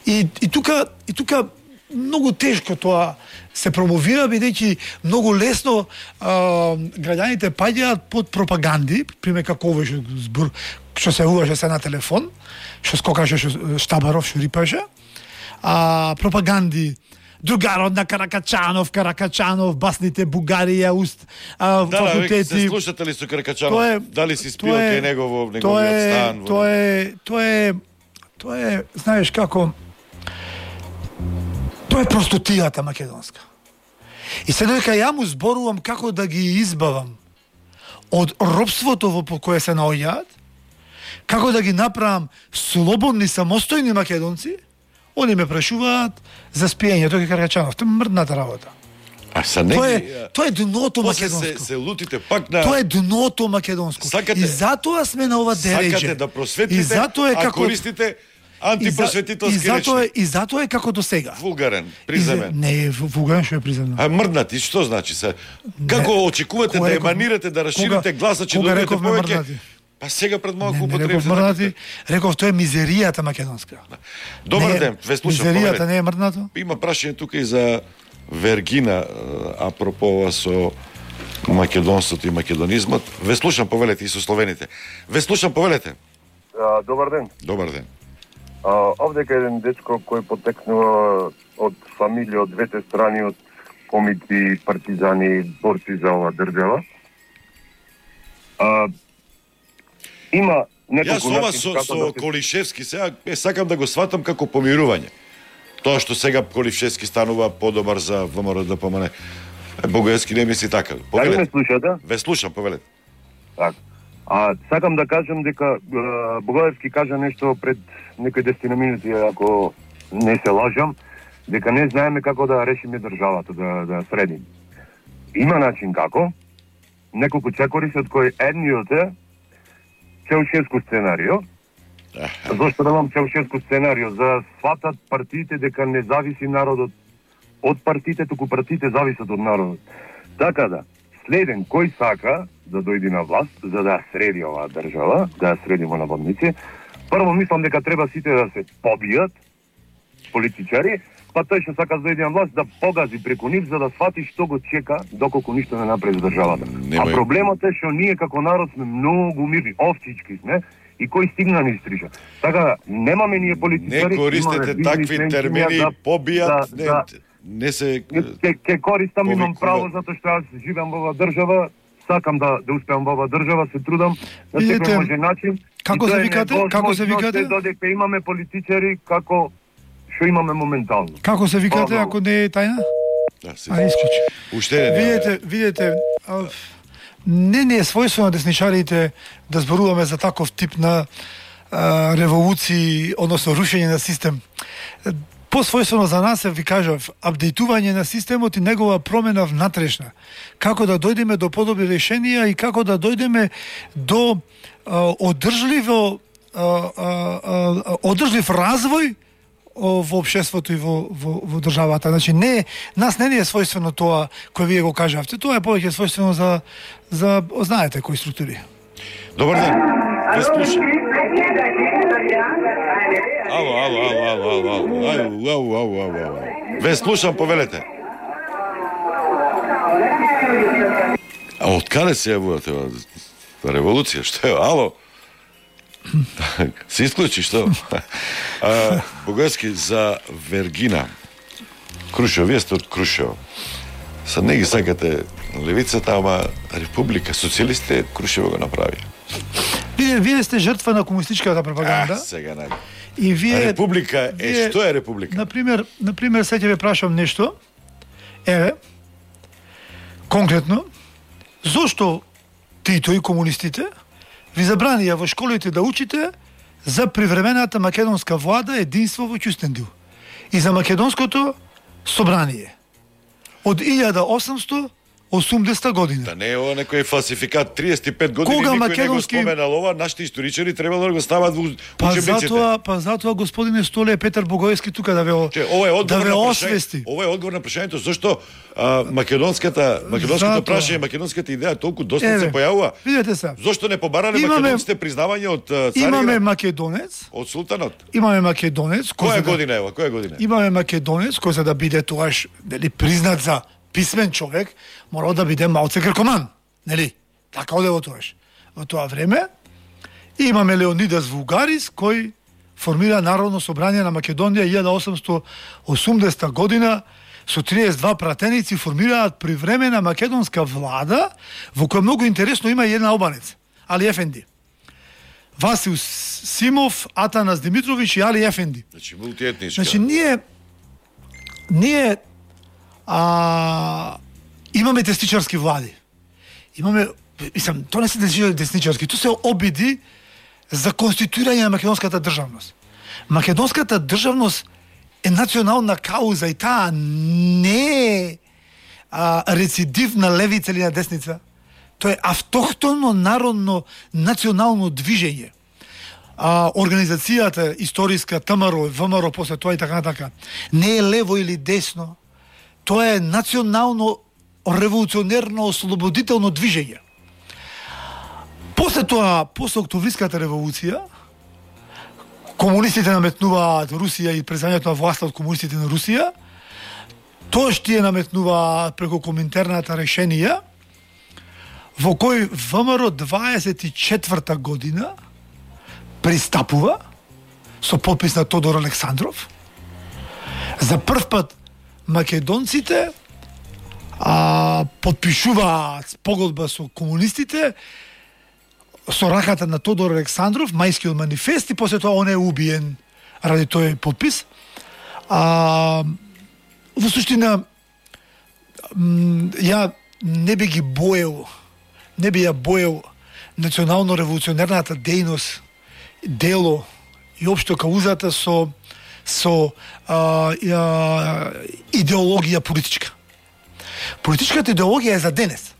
И, и тука, и тука многу тешко тоа се промовира, бидејќи многу лесно а, граѓаните паѓаат под пропаганди, пример како овој што збор што се уваше се на телефон, што скокаше што Штабаров што рипаше, а пропаганди другарот на Каракачанов, Каракачанов, басните Бугарија, уст, а, да, факултети. Да, се слушате ли со Каракачанов? Е, дали си спио кај него во неговиот стан? Тоа е, тоа е, тоа е, знаеш како, тоа е простотијата македонска. И се додека ја му зборувам како да ги избавам од робството во кое се наоѓаат, како да ги направам слободни, самостојни македонци, они ме прашуваат за спиење, тој е Каракачанов, тоа е мрдната работа. А са неги... Тоа е, тоа е дното македонско. Се, се лутите пак на... Тоа е дното македонско. Сакате, и затоа сме на ова дереđе. Сакате да просветите, и затоа е а како... користите антипросветителски и, за... и затоа речи. е, и затоа е како до сега. Вулгарен, приземен. Не е вулгарен, што е приземен. А мрднати, што значи се? Како не, очекувате да еманирате, да расширите гласа, че добиете повеќе? Па сега пред малку употребите. Реков мрднати, реков тоа е мизеријата македонска. Добар ден, ве слушам. Мизеријата не е мрднато? Има прашање тука и за Вергина, апропо ова со македонството и македонизмот. Ве слушам, повелете, и со словените. Ве слушам, повелете. А, добар ден. Добар ден. А, овдека еден дечко кој потекнува од фамилија од двете страни, од комити, партизани, борци за ова држава. А, има неколку... Јас ова со, со да се... Колишевски сега е, сакам да го сватам како помирување. Тоа што сега Колишевски станува подобар за ВМРО-ДПМН. Богоевски не мисли така. Дали ме слушате? Ве слушам, повелете. Так. А сакам да кажам дека Богоевски кажа нешто пред некои десет минути, ако не се лажам, дека не знаеме како да решиме државата, да, да средиме. Има начин како. Неколку чекори се од кои едниот е Чаушеску сценарио. Зошто да имам Чаушеску сценарио? За да сватат партиите дека не зависи народот од партиите, туку партиите зависат од народот. Така да, следен кој сака да дојде на власт, за да среди оваа држава, да ја средимо на водници, прво мислам дека треба сите да се побијат, политичари, па тој што сака да дојде на власт да погази преку нив, за да свати што го чека доколку ништо не направи за државата. Немај... А проблемот е што ние како народ сме многу мирни, овчички сме, и кој стигна ни стрижа. Така, немаме ние политичари... Не користете такви термини, да, побијат, да, не, да, не се... Ке, ке користам, имам право, затоа што јас живеам во оваа држава, сакам да, да успеам во оваа држава, се трудам на секој може начин. Како се викате? Како се викате? Додека имаме политичари како што имаме моментално. Како се викате, ако не е тајна? Да, се. А, исклучи. Уште не. Видете, видете, не не е својствено десничарите да зборуваме за таков тип на а, револуции, односно рушење на систем. Посвојствено за нас е, ви кажав, апдейтување на системот и негова промена внатрешна. Како да дојдеме до подобри решенија и како да дојдеме до а, одржливо а, а, а, одржлив развој во општеството и во, во, во државата. Значи, не, нас не е својствено тоа кој вие го кажавте, тоа е повеќе својствено за, за знаете кои структури. Добар ден. Ве слушам. Ало, ало, ало, ало, ало, ало, ало, ало, ало, ало. Ве слушам, повелете. А од каде се јавувате револуција? Што е? Ало? Се исклучи, што? А, Богоевски, за Вергина Крушево, вие сте од Крушево. Са не ги сакате левицата, ама Република, социјалистите Крушево го направи. Вие, вие сте жртва на комунистичката пропаганда. А, сега најде. И вие Република е, вие, што е република? Например, например, сега ќе ве прашам нешто. Еве, конкретно, зошто Тито и комунистите ви забранија во школите да учите за привремената македонска влада единство во Кюстендил и за македонското собрание од илјада осамстотини и осумдесета година. Да не е ова некој фалсификат, триесет и пет години Кога никој македонски... не го споменал ова, нашите историчари требало да го стават во Па учебниците. затоа, па затоа господине Столе Петар Богоевски тука да ве Че, ова е одговор да ве на прашање- освести. Ова е одговор на прашањето зашто а, македонската македонското Затоа. прашање, македонската идеја толку доста се Еве, појавува. Видете се. Зошто не побарале Имаме- македонците признавање од а, царина? Имаме македонец, Од султанот. имаме македонец кој Која за да- година е ова? Која година? Имаме македонец кој за да биде тоаш нели признат за писмен човек, мора да биде малце гркоман, нели? Така оде во тоаш. Во тоа време имаме Леонидас Вулгарис кој формира Народно собрание на Македонија илјада осамстотини и осумдесета година со триесет и два пратеници формираат привремена македонска влада во која многу интересно има и една албанец, Али Ефенди. Васил Симов, Атанас Димитрович и Али Ефенди. Значи мултиетничка. Значи ние ние а, имаме десничарски влади. Имаме, мислам, тоа не се десничарски, тоа се обиди за конституирање на македонската државност. Македонската државност е национална кауза и таа не е а, рецидив на левица или на десница. Тоа е автохтонно народно национално движење. А, организацијата историска ТМРО, ВМРО после тоа и така така не е лево или десно. Тоа е национално револуционерно ослободително движење. После тоа, после Октовриската револуција, комунистите наметнуваат Русија и преземањето на власта од комунистите на Русија, тоа што тие наметнуваат преку коминтерната решенија, во кој ВМРО дваесет и четврта година пристапува со подпис на Тодор Александров. За прв пат македонците а, подпишуваат погодба со комунистите со раката на Тодор Александров, Мајскиот манифест, и после тоа он е убиен ради тој подпис. А, во суштина, ја не би ги боел, не би ја боел национално-револуционерната дејност, дело и општо каузата со со а, а, идеологија политичка. Политичката идеологија е за денес.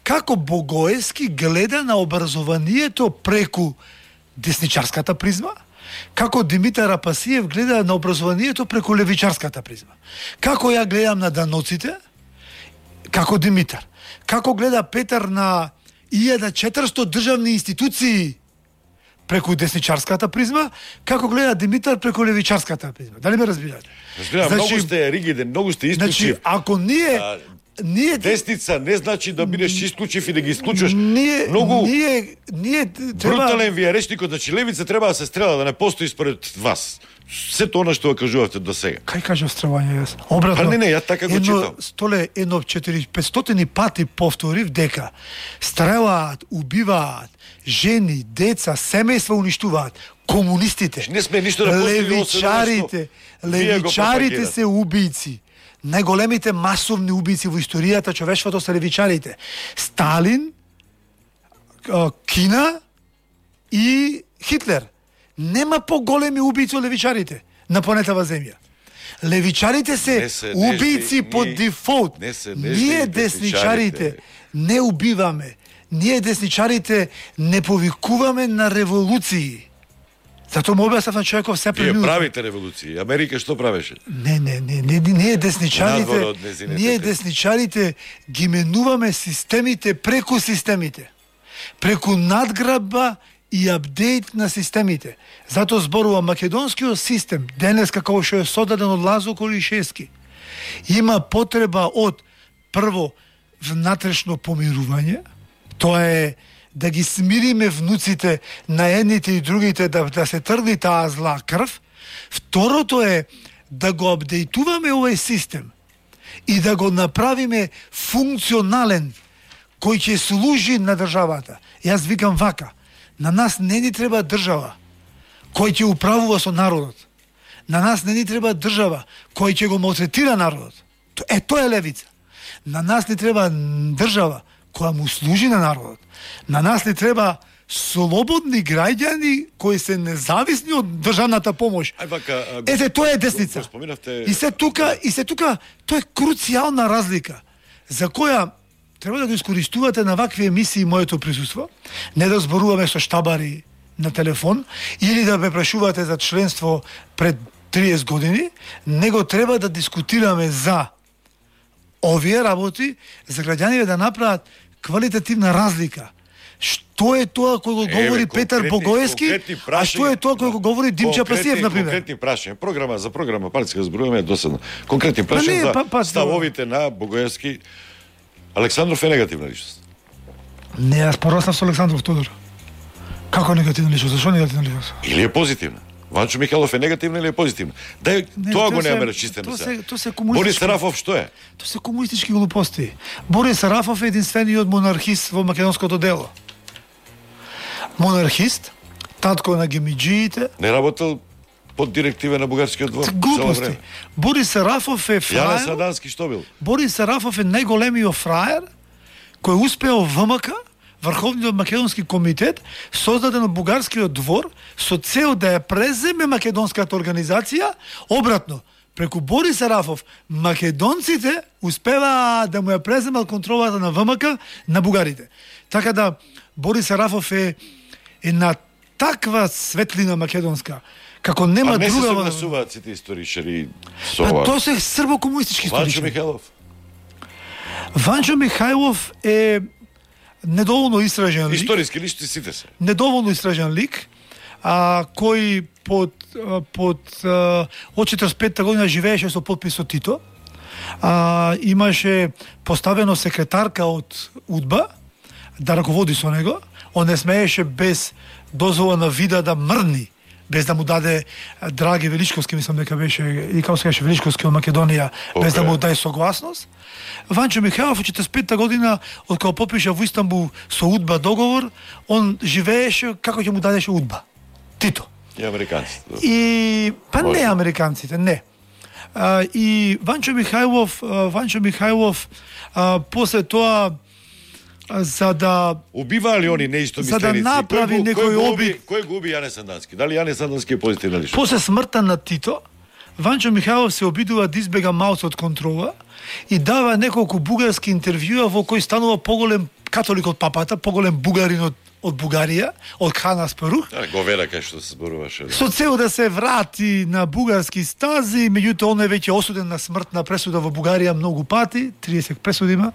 Како Богоевски гледа на образованието преку десничарската призма, како Димитар Апасиев гледа на образованието преку левичарската призма. Како ја гледам на даноците, како Димитар. Како гледа Петар на илјада и четиристотини државни институции преку десничарската призма, како гледа Димитар преку левичарската призма. Дали ме разбирате? Разбирам, Значи- многу сте ригиден, многу сте исклучив. Значи, ако ние А, ние Десница не значи да бидеш исклучив и да ги исклучуваш. ние Многу ние ние треба брутален ви е речникот, значи левица треба да се стрела, да не постои според вас. Сето она што го кажувате до сега. Кај кажав стрелање јас? Обратно. Па не, не, ја така го едно, читам. Столе, едно четири петстотини пати повторив дека стрелаат, убиваат жени, деца, семејства уништуваат комунистите. Не сме ништо да постигнали, левичарите, освен она што вие го левичарите пропагирате. се убийци. Најголемите масовни убийци во историјата човештвото се левичарите. Сталин, а, Кина и Хитлер. Нема поголеми убийци од левичарите на планетава Земја. Левичарите се, Не се убийци нежни, по ние- дефолт. не се нежни Ние десничарите. десничарите не убиваме. Ние десничарите не повикуваме на револуции. Затоа му објаснав на човеков се Вие преминут. правите револуции. Америка што правеше? Не, не, не, не, не, ние десничарите, Надвор од незините ние те- десничарите ги менуваме системите преку системите. Преку надграбба и апдейт на системите. Затоа зборува македонскиот систем, денес како што е содаден од Лазо Колишевски, има потреба од прво внатрешно помирување, тоа е да ги смириме внуците на едните и другите, да, да се тргни таа зла крв. Второто е да го апдейтуваме овој систем и да го направиме функционален, кој ќе служи на државата. Јас викам вака, На нас не ни треба држава кој ќе управува со народот. На нас не ни треба држава кој ќе го малтретира народот. Е, тоа е левица. На нас ни треба држава која му служи на народот. На нас ни треба слободни граѓани кои се независни од државната помош. Ете, тоа е десница. И се тука, и се тука, тоа е круцијална разлика за која треба да го искористувате на вакви емисии моето присуство, не да зборуваме со штабари на телефон или да ме прашувате за членство пред триесет години, него треба да дискутираме за овие работи, за граѓаните да направат квалитативна разлика. Што е тоа кој го говори Еве, Петар Богоевски, а што е тоа кој го говори Димча Пасиев, например? Конкретни прашања. Програма за програма партиска зборуваме е досадно. Конкретни прашања за па, па, ставовите на Богоевски. Александров е негативна личност. Не, јас пораснав со Александров Тодор. Како негативна личност? Зашо негативна личност? Или е позитивна? Ванчо Михайлов е негативна или е позитивна? Дај, не, тоа го немаме речистено сега. Тоа се комунистички. Борис Сарафов што е? Тоа се комунистички глупости. Борис Сарафов е единствениот монархист во македонското дело. Монархист, татко на гемиџиите. Не работел под директива на бугарскиот двор. Глупости. Борис Сарафов е фраер. Јане Садански што бил? Борис Сарафов е најголемиот фраер кој успеал ВМК, Врховниот македонски комитет, создаден од бугарскиот двор, со цел да ја преземе македонската организација. Обратно, преку Борис Сарафов, македонците успеваа да му ја преземат контролата на ВМК на бугарите. Така да, Борис Сарафов е, е на таква светлина македонска, како нема друга... А не се согласуваат сите историчари со ова? Па Тоа се србо-комунистички историчари. Ванчо Михайлов? Ванчо Михайлов е недоволно истражен лик. Историски личности сите се. Недоволно истражен лик, а, кој под, под а, од четиридесет и петта година живееше со потписот Тито. А, имаше поставено секретарка од УДБА да раководи со него. Он не смееше без дозвола на вида да мрни, без да му даде Драге Величковски, мислам дека беше, и како се каже Величковски од Македонија, okay. без да му даде согласност. Ванчо Михайлов од четиридесет и петта година, од кога подпиша во Истанбул со УДБА договор, он живееше како ќе му дадеше УДБА. Тито. И американците. И па не американците, не. А, и Ванчо Михайлов, Ванчо Михайлов а, после тоа за да убиваа ли они неистомисленици? За да направи некој обид. Кој го уби Јане Сандански? Дали Јане Сандански е позитивна личност? После смртта на Тито, Ванчо Михайлов се обидува да избега малку од контрола и дава неколку бугарски интервјуа во кои станува поголем католик од папата, поголем бугарин од од Бугарија, од Хан Аспарух. Да, го вера кај што се зборуваше. Со цел да се врати на бугарски стази, меѓутоа он е веќе осуден на смртна пресуда во Бугарија многу пати, триесет пресуди има,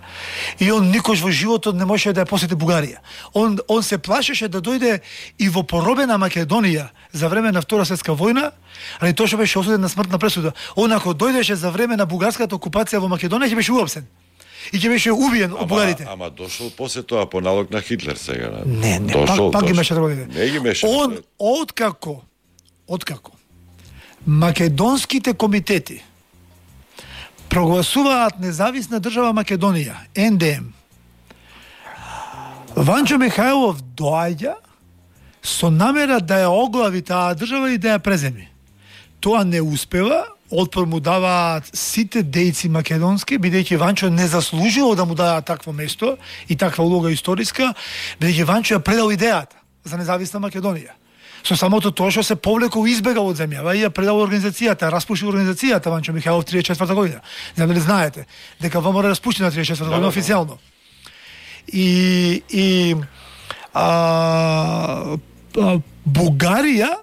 и он никош во животот не можеше да ја посети Бугарија. Он он се плашеше да дојде и во поробена Македонија за време на Втора светска војна, али тоа што беше осуден на смртна пресуда. Он ако дојдеше за време на бугарската окупација во Македонија ќе беше уапсен. И ќе беше убиен од бугарите. Ама дошол после тоа по налог на Хитлер сега. Не, не, дошол, пак, пак ги меше да Не ги меше. Он откако, откако македонските комитети прогласуваат независна држава Македонија, Ен Де Ем, Ванчо Михайлов доаѓа со намера да ја оглави таа држава и да ја преземи. Тоа не успева. Отпор му даваат сите дејци македонски, бидејќи Ванчо не заслужило да му дадат такво место и таква улога историска, бидејќи Ванчо ја предал идејата за независна Македонија. Со самото тоа што се повлекол избегал од земјава и ја предал организацијата, распушил организацијата Ванчо Михайлов триесет и четврта година. Не знам дали знаете дека ВМРО распуштена триесет и четврта година официјално. И и а, а, Бугарија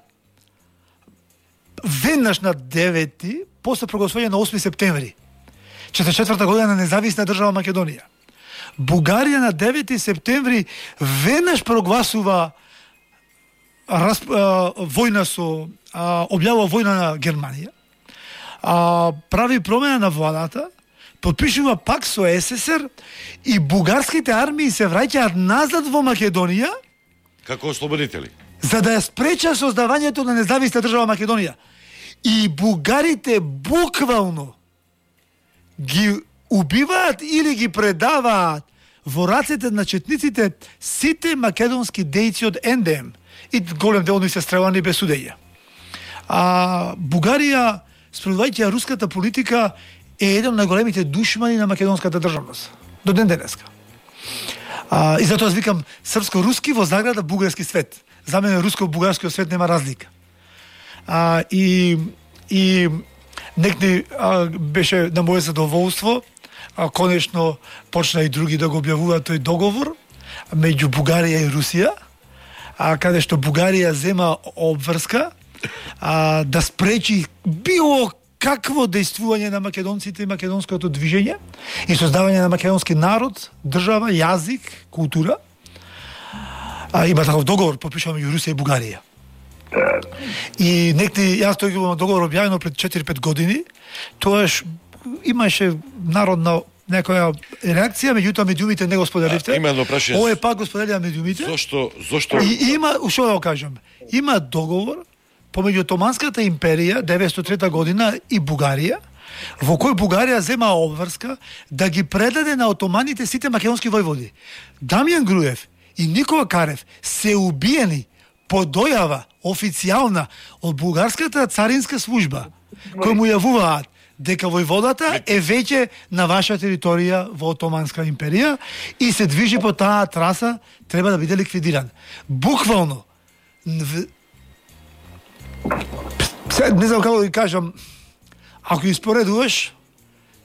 веднаш на девети, после прогласување на осми септември, четиридесет и четврта година на независна држава Македонија. Бугарија на девети септември веднаш прогласува расп... а, војна со а, објавува војна на Германија. А, прави промена на владата, подпишува пак со Ес Ес Ер и бугарските армии се враќаат назад во Македонија како ослободители, за да ја спреча создавањето на независна држава Македонија. И бугарите буквално ги убиваат или ги предаваат во рацете на четниците сите македонски дејци од Ен Де Ем и голем дел се стрелани без судење. А Бугарија, спроведувајќи ја руската политика, е еден од најголемите душмани на македонската државност до ден денеска. А, и затоа викам српско-руски во заграда бугарски свет. За мене руско-бугарскиот свет нема разлика. А, и и некни а, беше на моје задоволство, а конечно почна и други да го објавуваат тој договор меѓу Бугарија и Русија, а каде што Бугарија зема обврска а, да спречи било какво дејствување на македонците и македонското движење и создавање на македонски народ, држава, јазик, култура. А, има таков договор подпишан меѓу Русија и Бугарија. И некти, јас тој имам договор објавено пред четири-пет години, тоаш имаше народна некоја реакција, меѓутоа медиумите не го споделивте. Има едно прашање. Ова е пак го споделија медиумите. Зошто, зошто... И има, што да го кажам, има договор помеѓу Отоманската империја деветстотини и трета година и Бугарија, во кој Бугарија зема обврска да ги предаде на отоманите сите македонски војводи. Дамјан Груев и Никола Карев се убиени по дојава официјална од бугарската царинска служба, кој му јавуваат дека војводата е веќе на ваша територија во Отоманска империја и се движи по таа траса, треба да биде ликвидиран. Буквално не знам како да ви кажам, ако испоредуваш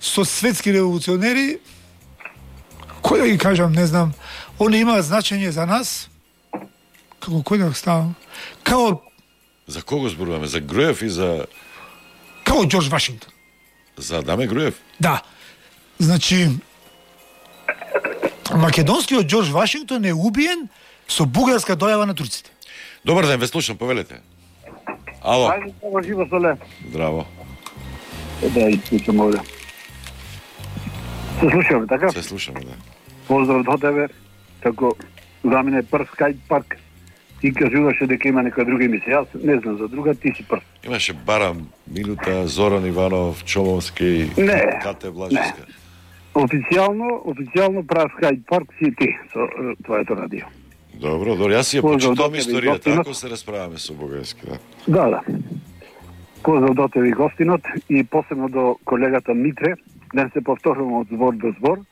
со светски револуционери, кој да ги кажам, не знам, они имаат значење за нас, како кој да ставам, како... За кого зборуваме? За Груев и за... Како Џорџ Вашингтон. За Даме Груев? Да. Значи, македонскиот Џорџ Вашингтон е убиен со бугарска дојава на турците. Добар ден, ве слушам, повелете. Ало. Ајде, само живо соле. Здраво. Да, слушам овде. Се слушаме, така? Се слушаме, да. Поздрав до тебе. Тако, за мене прв скајп парк. Ти кажуваше дека има некоја друга емисија. Јас не знам за друга, ти си прв. Имаше Барам, Милута, Зоран Иванов, Чомовски, не, Кате Блажевска. Официјално, официјално прав скајп парк си ти со твоето радио. Добро, добро, јас си ја почитам историјата, ако се расправаме со бугарски, да. Да, да. Поздрав до тебе и гостинот и посебно до колегата Митре, да се повторувам од збор до збор.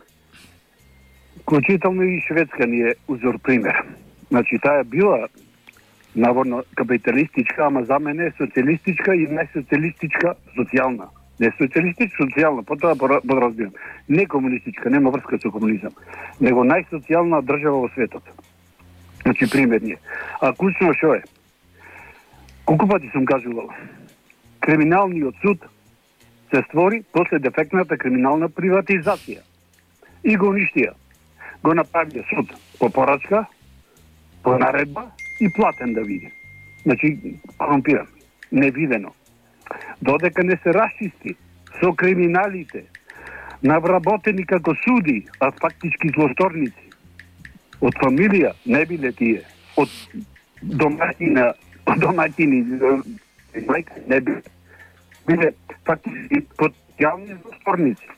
Вклучително и Шведска ни е узор пример. Значи, таа била наводно капиталистичка, ама за мене е социјалистичка и најсоцијалистичка социјална. Не социјалистичка, социјална, потоа подразбирам. Не комунистичка, нема врска со комунизам, него најсоцијална држава во светот. Значи, пример ни е. А клучно шо е? Колку пати сум кажувал? Криминалниот суд се створи после дефектната криминална приватизација. И го уништија. Го направија суд по порачка, по наредба и платен да види. Значи, корумпиран, невидено. Додека не се расчисти со криминалите, навработени како суди, а фактички злосторници, од фамилија не биле тие, од домаќина, од домаќини не биле, биле фактички потенцијални злосторници.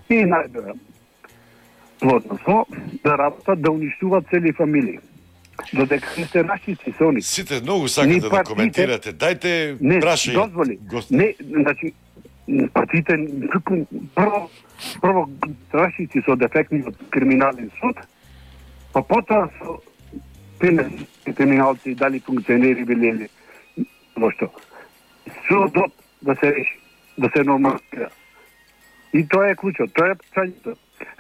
И најдоја плотно со да работат, да уништуваат цели фамилии. Додека не се расчисти со они. Сите многу сакате да коментирате. Дајте прашање. Не, дозволи. Не, значи, партиите прво, прво расчисти со дефектниот криминален суд, па потоа со криминалци, дали функционери били или што. Судот да се реши, да се нормализира. И тоа е клучот, тоа е прашањето.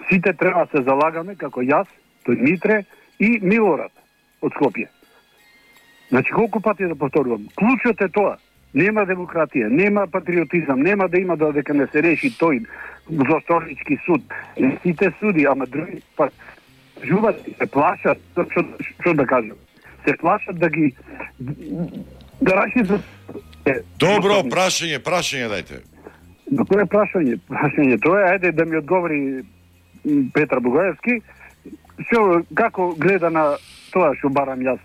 Сите треба се залагаме, како јас, тој Митре и Милорад од Скопје. Значи, колку пати да повторувам, клучот е тоа. Нема демократија, нема патриотизам, нема да има додека не се реши тој злосторнички суд. И сите суди, ама други па жуват, се плашат, што да кажам, се плашат да ги да раши за... Добро, прашање, прашање дајте. Но кој е прашање? Прашање тоа е, ајде да ми одговори Петар Бугаевски, што, како гледа на тоа што барам јас.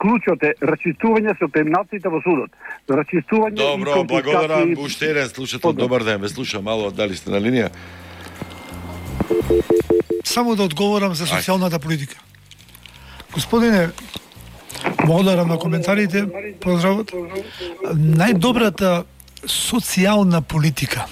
Клучот е расчистување со криминалците во судот. Расчистување. Добро, благодарам. Уште еден слушател, добар ден, ве слушам, мало, дали сте на линија? само да одговорам за социјалната политика. Господине, благодарам на коментарите, поздравот. Најдобрата социјална политика